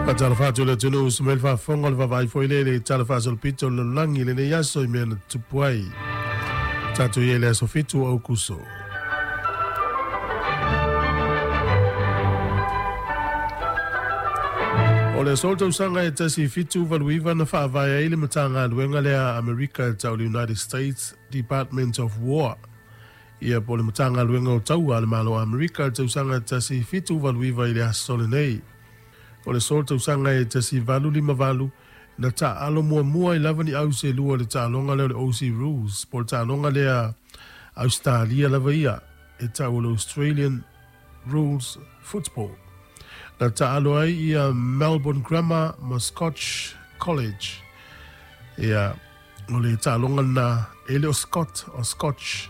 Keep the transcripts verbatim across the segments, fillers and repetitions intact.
Faatalofa atu i le atunuu sa mai le faafofoga o le vaavaai foi lea i le tala faasolopito o le lalolagi i lenei aso i mea na tutupu ai. Tatou i ai i le aso fitu o Aukuso. O le aso tausaga e tasi fitu valu iva na faavae ai le Matagaluega lea a Amerika e tau le United States Department of War. Ia po o le Matagaluega o Taua a le Malo o Amerika i le tausaga tasi fitu valu iva i le aso lenei. O le aso tausaga e tasi valu lima valu na taaalo muamua ai lava ni au selua i le taaloga lea o le Aussie Rules po o le taaloga lea Australia lava ia e tau o le Australian Rules Football. Na taalo ai ia Melbourne Grammar ma Scotch College. Ia, o le taaloga lena e le o Scott o Scotch.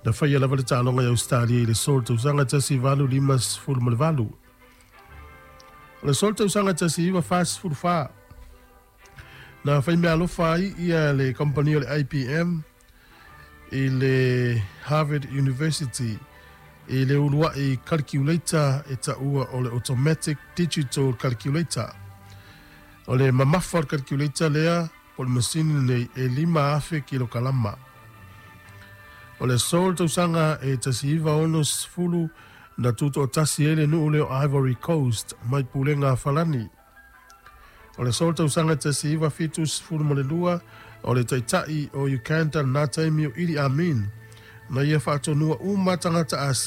Na faia lava le taaloga i Australia i le aso o le tausaga tasi valu lima sefulu ma le valu. O le aso o le tausaga tasi iva fa sefulu fa, na faimeaalofa ai ia le kamupani o le I B M i le Harvard University i le uluai calculator e taua o le Automatic Digital Calculator. O le mamafa o le calculator lea po o le masini lenei e lima afe kilokalama. O le aso o le tausaga e tasi iva ono sefulu na tutoatasi ai le nuu lea o Ivory Coast mai pulega a Falani. O le aso o le tausaga e tasi iva fitu sefulu ma le lua o le taitai o Uganda lena taimi o Idi Amin na ia faatonua uma tagata Asia